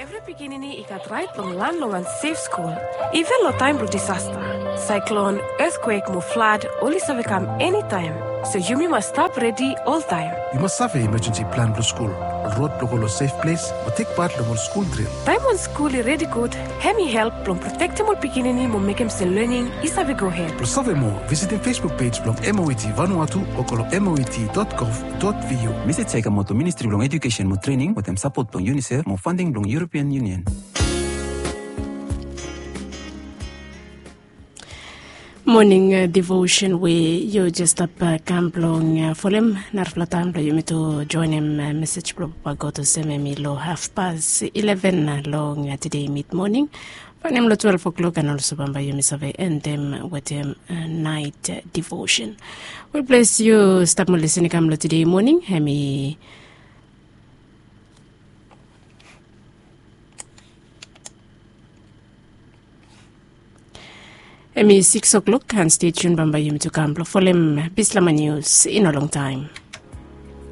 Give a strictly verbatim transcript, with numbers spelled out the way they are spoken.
Evri pikinini i gat rait long lan long wan sef skul. Iven long taem blong disasta, saeklon, etkwek mo flad oli save kam enitaem. So yumi mas stap redi oltaem. Yu mas save imajensi plan blong skul, ol rod blong go long sef ples, mo tek pat long ol skul dril. Taem wan skul i redi gud, hem i help blong protektem ol pikinini mo mekem se lening i save gohed. Blong save moa, visitim Facebook pej blong M O E T Vanuatu o go long M O E T dot gov dot V U. Mesej ya i kamot long Ministri blong Ejukesen mo Trening wetem sapot blong UNICEF mo fanding blong European Union. Moning devotion we yu jes stap kam blong folem narafala taem blong yumi tu joenem mesej blong Papa God olsem hem i long hafpas ileven long tede midmoning. Faenem long twelef oklok an olso bambae yumi save endem wetem naet devotion. Wel, ples yu stap mo lisin i kam long tede moning, hem i hem i sikis oklok, an stei tiun bambae yumi tu kam blong folem bislama nius i no longtaem.